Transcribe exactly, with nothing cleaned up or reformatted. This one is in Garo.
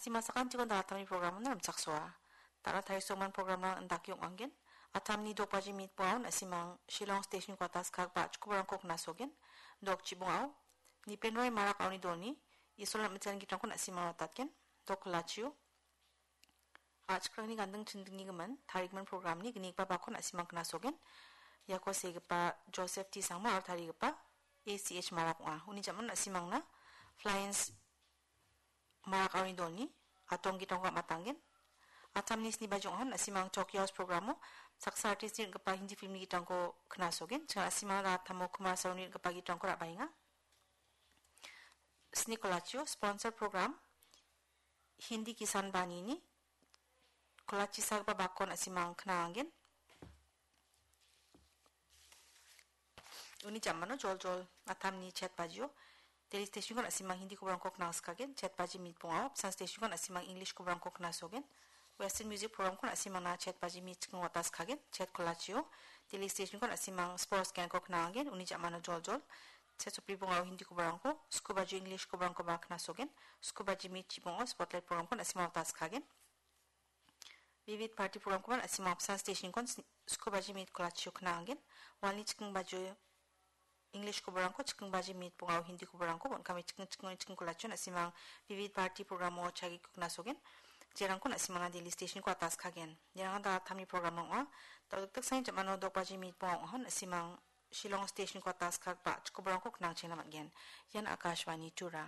Sima sakantikon dalatamni programon rimchaksoa. Dala tarisongman programrang indake ong·angen. Atamni dok baji mitbongao na·simang Shillong Station Quarters kagba achikobarangko knasogen. Dok chibongao Nipenroi Marak Aoni Dolni Isolna Mitsan Gitrangko na·simang watatgen. Dok kolachio achikrangni ganding chindingni gimin tarigimin programni gnigipa bakon na·simang knasogen. Iako segipa Joseph T Sangma aro tarigipa A C H Marak ong·a. Uni jamano na·simangna Flyers Marak Aoni Dolni Atong Gitrangko am·atanggen. Atamni sni baji ong·ahon na·simang Tokyo House programo saksa artistni ring·gipa Hindi filmni gitrangko knasogen. Ching na·simang Ratamo Kumar Saruni ring·gipa gitrangko ra·baenga. Sni kolachio sponsor program Hindi Kisan Banini kolachisagipa bakon na·simang knaangen. Uni jamano joljol atamni chet bajio Delhi Stationko na·simang Hindi kobarangko knangskagen, chet baji mitbongao, Apsan Stationko na·simang English kobarangko knasogen, Western Music programko na·simangna chet baji mit chiking wataskagen, chet kolachio Delhi Stationko na·simang sports ganko knangagen, uni jamano joljol, chet sopri bongao Hindi kobarangko, sku bajio English kobarangkoba knasogen, sku baji mit chibongao spotlight programko na·simang wataskagen. Vivid Bharati programkoba na·simang Apsan Stationkon sni-, sku baji mit kolachio knaangen. Walni chiking bajio English kobarangko, chiking baji mit bongao Hindi kobarangko, bon·kame chiking chiking chiking kolachio na·simang Vivid Bharati programo chagiko knasogen. Jerangko na·simangna Delhi Stationko ataskagen. Jerang dalatamni programrang ong·a. Dal·gipa sain jamano dok baji mit bonga ong·ahon na·simang Shillong Stationko ataskagba achikobarangko knangchengna man·gen. Ian Akashvani Tura.